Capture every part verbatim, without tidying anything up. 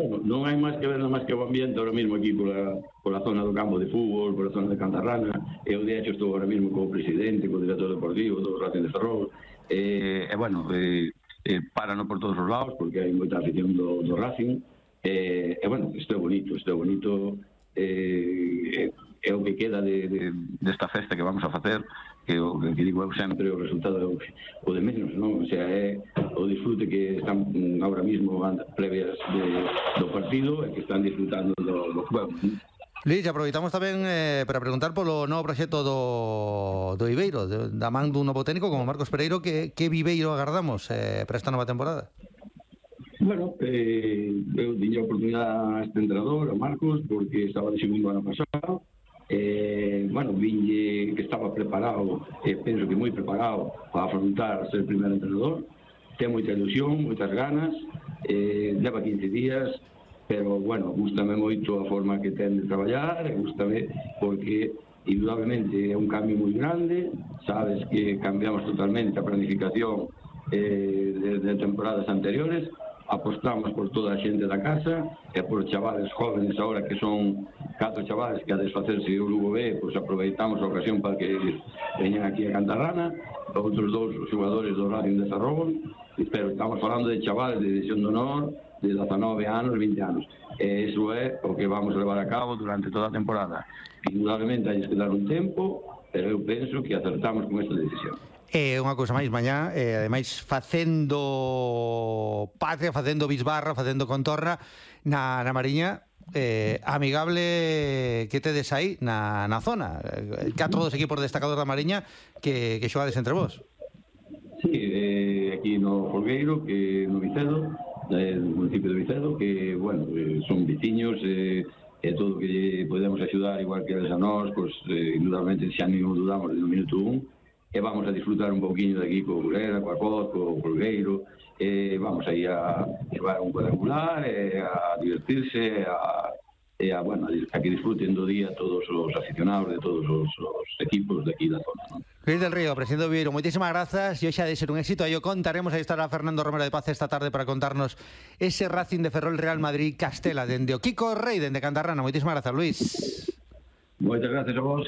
bueno, non hai máis que ver nada máis que o ambiente ahora mismo aquí pola, pola zona do campo de fútbol, pola zona de Cantarrana. Eu, de hecho, estou ahora mismo co presidente, co director deportivo do Racing de Ferrol. E, eh, bueno, eh, eh, parano por todos os lados, porque hai moita afición do, do Racing. E, eh, bueno, isto é bonito, isto é bonito. Eh, é o que queda de, de, desta festa que vamos a facer, que o que digo eu sempre, o resultado é o, o de menos, non? O sea, é o disfrute que están ahora mismo previas de, do partido e que están disfrutando do, do juego, non? Luís, aproveitamos tamén eh, para preguntar polo novo proxecto do, do Viveiro, de, da man dun novo técnico como Marcos Pereiro. Que, que Viveiro agardamos eh, para esta nova temporada? Bueno, eh, eu diña a oportunidade a este entrenador, a Marcos, porque estaba de segundo ano pasado. Eh, bueno, vinlle que estaba preparado, eh, penso que moi preparado para afrontar ser primeiro entrenador. Ten moita ilusión, moitas ganas, eh, leva quince días, pero, bueno, gústame moito a forma que ten de traballar, e gústame porque, indudablemente, é un cambio moi grande. Sabes que cambiamos totalmente a planificación eh, de, de temporadas anteriores. Apostamos por toda a xente da casa e por chavales jóvenes agora, que son catro chavales que a desfacerse o Lugo B, pois aproveitamos a ocasión para que veñan aquí a Cantarrana. Outros dous xogadores do Racing de Ferrol, pero estamos falando de chavales de división de honor de dezanove anos, vinte anos, e iso é o que vamos levar a cabo durante toda a temporada. Indudablemente hai que dar un tempo, pero eu penso que acertamos con esta decisión. E unha cousa máis, mañá, eh, ademais facendo patria, facendo bisbarra, facendo contorna na, na Mariña, eh, amigable que tedes aí na, na zona. Catro dos equipos destacados da Mariña que, que xogades entre vos. Sí, eh, aquí no Folgueiro, que no Vicedo, eh, no municipio de Vicedo, que, bueno, eh, son veciños, e eh, todo o que podemos axudar, igual que eles a nós, pois, eh, indudablemente, xa non dudamos no minuto un. E vamos a disfrutar un pouquinho de aquí co Burela, coa Coz, co Folgueiro, e vamos aí a llevar un cuadrangular, e a divertirse, a, e a, bueno, a que disfruten do día todos os aficionados de todos os, os equipos de aquí da zona, non? Luís del Río, presidente do Viveiro, moitísimas grazas, e hoxe ha de ser un éxito. Aí o contaremos, aí estará Fernando Romero de Paz esta tarde para contarnos ese Racing de Ferrol Real Madrid Castela, dende o Kiko Rei, dende Cantarrana. Moitísimas grazas, Luís. Moitas gracias a vos.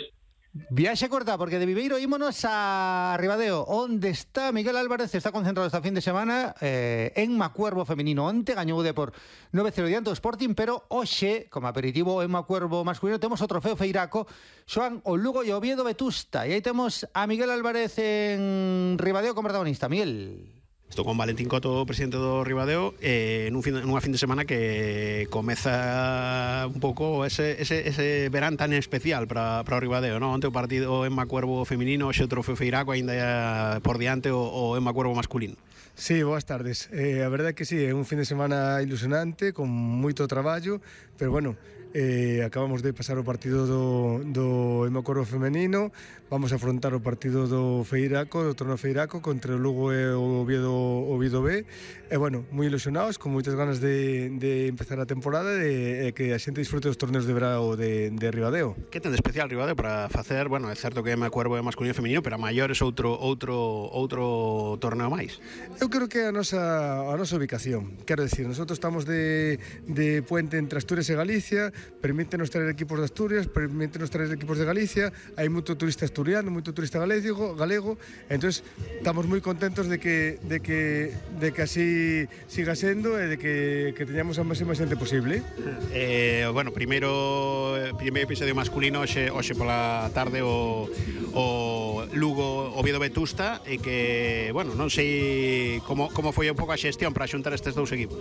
Viaxe corta, porque de Viveiro ímonos a Ribadeo, onde está Miguel Álvarez. Está concentrado esta fin de semana eh, en Macuervo femenino. Onte gañou de por nove cero diante do Sporting, pero hoxe, como aperitivo en Macuervo masculino, temos o trofeo Feiraco. Xoan o Lugo e o Oviedo Vetusta, e aí temos a Miguel Álvarez en Ribadeo como protagonista. Miguel. Estou con Valentín Coto, presidente do Ribadeo, eh, nun fin, nunha fin de semana que comeza un pouco ese, ese, ese verán tan especial para, para o Ribadeo, non? Onte o partido en Macuervo feminino, hoxe o trofeo Feiraco, ainda por diante o, o en Macuervo masculino. Sí, boas tardes. Eh, a verdade é que sí, é un fin de semana ilusionante, con moito traballo, pero bueno, eh, acabamos de pasar o partido do, do Macuervo femenino, vamos a afrontar o partido do Feiraco, do torneo Feiraco, contra o Lugo e o Oviedo, Oviedo B, e bueno, moi ilusionados, con moitas ganas de, de empezar a temporada e, e que a xente disfrute dos torneos de verao de, de Ribadeo. Que ten de especial Ribadeo para facer, bueno, é certo que é Macuervo é masculino e feminino, pero a maiores outro, outro, outro torneo máis? Eu creo que é a nosa, a nosa ubicación, quero decir, nosotros estamos de, de puente entre Asturias e Galicia, permítenos traer equipos de Asturias, permítenos traer equipos de Galicia, hai moito turista asturiano, moito turista galego, galego, entonces estamos moi contentos de que de que de que así siga sendo e de que que teñamos a máxima xente posible. Eh, bueno, primeiro primeiro episodio masculino hoxe hoxe pola tarde o o Lugo Oviedo Vetusta, e que, bueno, non sei como como foi un pouco a xestión para xuntar estes dous equipos.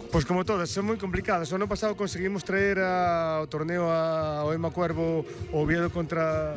Pois como todas, son moi complicadas. O ano pasado conseguimos traer ao torneo ao Macuervo o Oviedo contra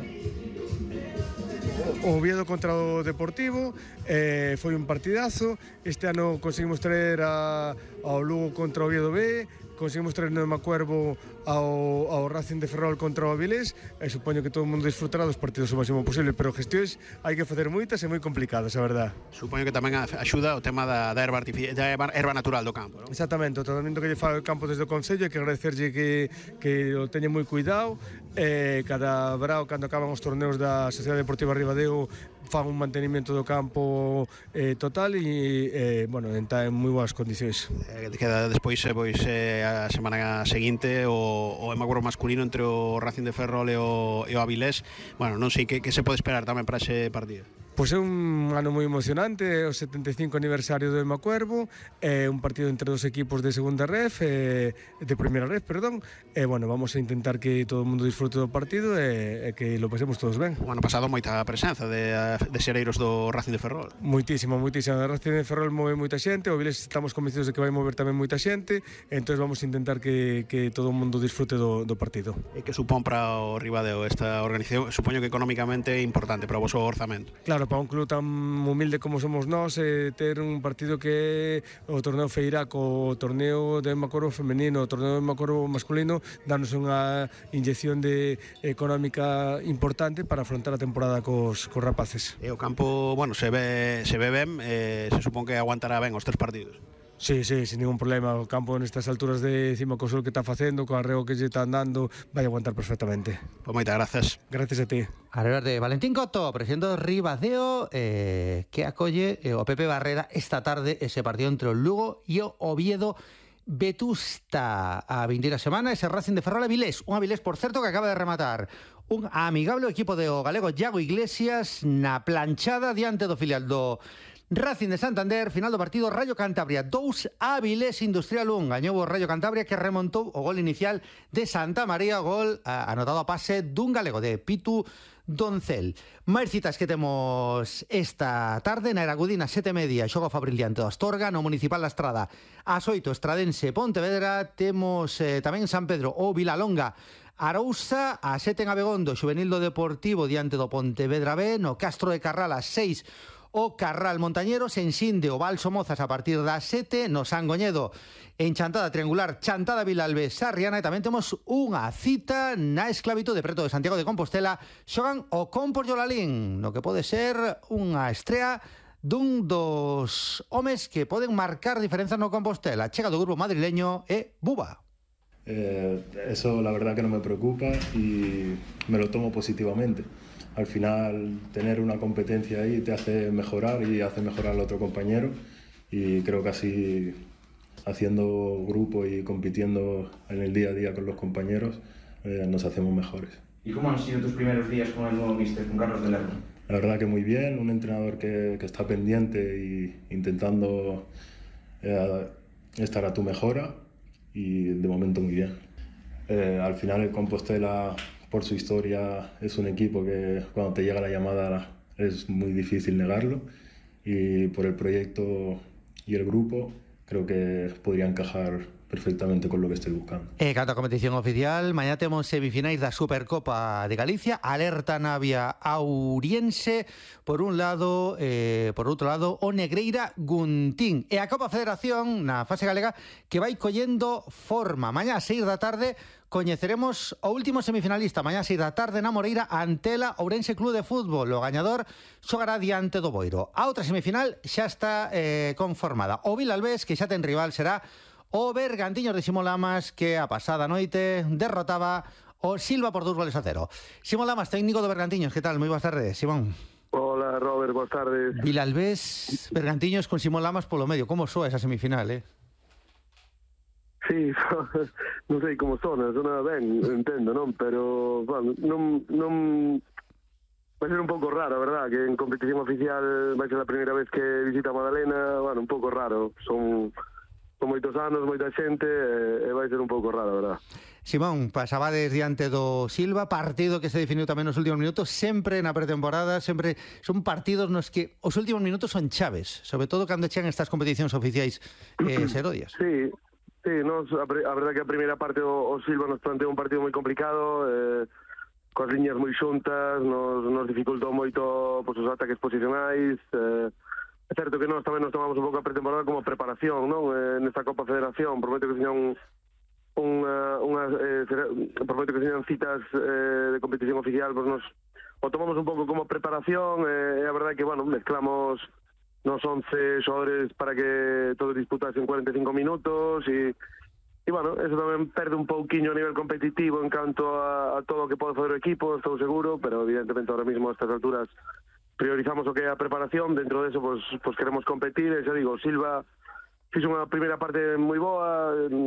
o Oviedo contra o Deportivo, eh, foi un partidazo. Este ano conseguimos traer a, ao Lugo contra o Oviedo B, conseguimos traer no Macuervo ao, ao Racing de Ferrol contra o Avilés, e supoño que todo o mundo disfrutará dos partidos o máximo posible, pero gestións hai que facer moitas e moi complicadas, a verdad. Supoño que tamén axuda o tema da, da, erva, da erva natural do campo, non? Exactamente, o tratamento que lle fai o campo desde o Concello, hai que agradecerlle que, que o teñen moi cuidado, eh, cada verao, cando acaban os torneos da Sociedade Deportiva Ribadeo, fan un mantenimiento do campo eh, total e, eh, bueno, está en moi boas condicións. Eh, queda despois eh, pois, eh, a semana seguinte o, o Emacurvo masculino entre o Racing de Ferrol e o, e o Avilés. Bueno, non sei que, que se pode esperar tamén para ese partido. Pois é un ano moi emocionante, é o setenta e cinco aniversario do Emacuervo, é un partido entre dos equipos de segunda ref, eh, de primeira ref, perdón, e, bueno, vamos a intentar que todo o mundo disfrute do partido e, e que lo pasemos todos ben. O ano pasado moita presenza de, de xereiros do Racing de Ferrol. Moitísima, moitísima. O Racing de Ferrol move moita xente, o Viles estamos convencidos de que vai mover tamén moita xente, entón vamos a intentar que, que todo o mundo disfrute do, do partido. E que supón para o Ribadeo esta organización? Supoño que económicamente é importante para o vosso orzamento. Claro, para un club tan humilde como somos nós, eh, ter un partido que é o torneo Feiraco, o torneo de Emacuervo femenino, o torneo de Emacuervo masculino, danos unha inyección de económica importante para afrontar a temporada cos, cos rapaces. E o campo, bueno, se ve, se ve ben, eh, se supón que aguantará ben os tres partidos. Sí, sí, sin ningún problema. O campo nestas alturas de cima co sol que está facendo, co arreo que lle está andando, vai aguantar perfectamente. Pois moitas grazas. Gracias a ti. A ver, de Valentín Coto, presidente do Ribadeo, eh, que acolle eh, o Pepe Barrera esta tarde ese partido entre o Lugo e o Oviedo Vetusta. A vindeira semana ese Racing de Ferrol Avilés, un Avilés, por certo, que acaba de rematar un amigable equipo de o galego Iago Iglesias na planchada diante do filial do Racing de Santander. Final do partido Rayo Cantabria dous, Avilés Industrial un. Gañou o Rayo Cantabria, que remontou o gol inicial de Santa María, gol a, anotado a pase dun galego, de Pitu Doncel. Máis citas que temos esta tarde na Eragudina, sete e media, xogo Fabril diante do Astorga, no Municipal da Estrada ás oito, Estradense Pontevedra. Temos eh, tamén San Pedro ou Vilalonga Arousa, a sete en Abegondo, Xuvenil do Deportivo diante do Pontevedra B. No Castro de Carral a seis, o Carral Montañeros. En Sinde o Val Somozas a partir das sete. No Sangoñedo, en Chantada Triangular, Chantada Vilalbe Sarriana. E tamén temos unha cita na Esclavitude preto de Santiago de Compostela. Xogan o Compos Yolalín, no que pode ser unha estrea dun dos homes que poden marcar diferenzas no Compostela. Chega do grupo madrileño e Buba. Eh, eso la verdad que no me preocupa y me lo tomo positivamente. Al final, tener una competencia ahí te hace mejorar y hace mejorar al otro compañero, y creo que así, haciendo grupo y compitiendo en el día a día con los compañeros, eh, nos hacemos mejores. ¿Y cómo han sido tus primeros días con el nuevo míster, con Carlos de Lerma? La verdad que muy bien, un entrenador que, que está pendiente y intentando eh, estar a tu mejora, y de momento muy bien. Eh, al final el Compostela, por su historia, es un equipo que cuando te llega la llamada es muy difícil negarlo, y por el proyecto y el grupo creo que podría encajar perfectamente con lo que estoy buscando. E canto a competición oficial, mañá temos semifinais da Supercopa de Galicia. Alerta Navia Auriense por un lado, eh, por outro lado o Negreira Guntín. E a Copa Federación na fase galega, que vai collendo forma. Mañá a seis da tarde coñeceremos o último semifinalista. Mañá a seis da tarde na Moreira, Antela Ourense Club de Fútbol. O gañador xogará diante do Boiro. A outra semifinal xa está eh, conformada. O Vilalbés, que xa ten rival, será o Bergantiños de Simón Lamas, que a pasada noite derrotaba o Silva por dous goles a cero. Simón Lamas, técnico do Bergantiños, que tal? Moi boas tardes, Simón. Hola, Robert, boas tardes. Vilalbés, Bergantiños con Simón Lamas polo medio. Como soa esa semifinal, eh? Sí, non sei como sona, sona ben, entendo, non? Pero, bueno, non, non... vai ser un pouco raro, verdad, que en competición oficial vai ser a primeira vez que visita a Madalena, bueno, un pouco raro. Son... con moitos anos, moita xente, e vai ser un pouco raro, verdad. Simón, pasabades diante do Silva, partido que se definiu tamén nos últimos minutos, sempre na pretemporada, sempre son partidos nos que os últimos minutos son chaves, sobre todo cando chegan estas competicións oficiais eh, serodias. Sí, sí, nos, a, a verdad que a primeira parte o, o Silva nos planteou un partido moi complicado, eh, coas liñas moi xuntas, nos, nos dificultou moito pues, os ataques posicionais, eh, é certo que nós tamén nos tomamos un pouco a pretemporada como preparación, non? Eh, nesta Copa Federación, prometo que señan unha, unha eh, prometo que señan citas eh, de competición oficial, pois nos o tomamos un pouco como preparación, e eh, a verdade que, bueno, mezclamos nos once xogadores para que todos disputasen cuarenta e cinco minutos, e e, bueno, eso tamén perde un pouquiño a nivel competitivo en canto a, a todo o que pode fazer o equipo, estou seguro, pero evidentemente ahora mismo a estas alturas priorizamos o que é a preparación, dentro deso, pois, pois queremos competir, e xa digo, Silva fixe unha primeira parte moi boa,